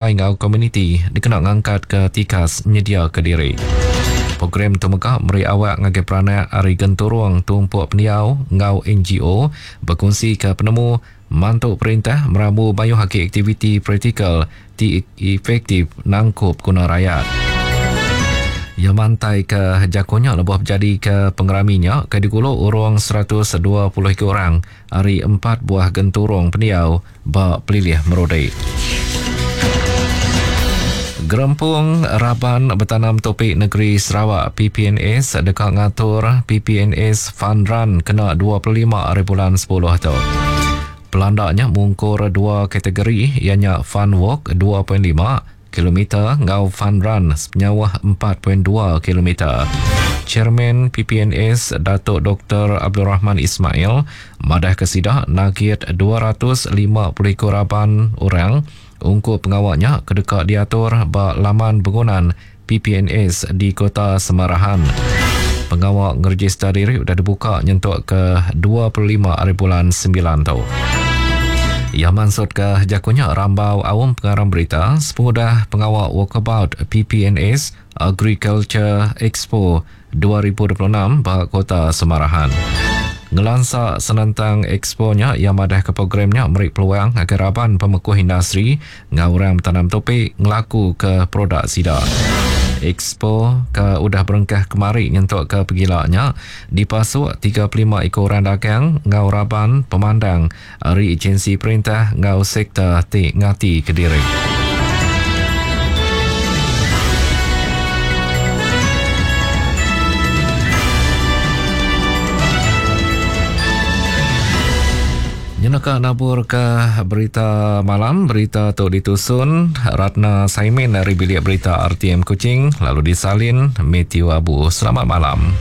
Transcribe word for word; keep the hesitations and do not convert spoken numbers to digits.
Enggau komuniti dikena ngangkatka tikas nyediaka diri. Program tu mega meri awak ngagai peranak ari genturung tumpuk pendiau enggau N G O bekunsika penemu mantu perintah merambu mayuh agi aktiviti praktikal ti efektif nangkup guna rayat. Ia mantai ke jakunya lebuh berjadi ke pengeraminya ke digulu urung seratus dua puluh iku orang ari empat buah genturung pendiau ba Pelilih Merudi. Gerempung Raban Betanam Topik Negeri Sarawak P P N S deka ngatur P P N S Fun Run kena dua puluh lima hari bulan sepuluh tu. Pelandaknya mungkur dua kategori ianya Fun Walk dua perpuluhan lima kilometer ngau Fun Run sepenyauh empat perpuluhan dua kilometer. Chairman P P N S Datuk Doktor Abdul Rahman Ismail madah ke sidak nagit dua ratus lima puluh ekor raban orang ungkup pengawaknya kedeka diatur ba laman bangunan P P N S di Kota Samarahan. Pengawak ngeregister diri sudah dibuka nyentuk ke dua puluh lima hari bulan sembilan tu. Ia maksud ke jakunya rambau awam pengarang berita sepengudah pengawak walkabout P P N S Agriculture Expo dua ribu dua puluh enam ba Kota Samarahan. Ngelansa senentang expo-nya ia madah ke programnya meri peluang agar raban pemekuh industri ngau orang bertanam topik ngelaku ke produk sida. Expo ke udah berengkah kemari nyentuk ke pegilanya dipasuk tiga puluh lima ekor orang dagang ngau raban pemandang ari agensi perintah ngau sektor ti ngati kediri. Nyenaka nabur ke berita malam, berita tu ditusun Ratna Saimin dari Bilik Berita R T M Kuching, lalu disalin Matthew Abu. Selamat malam.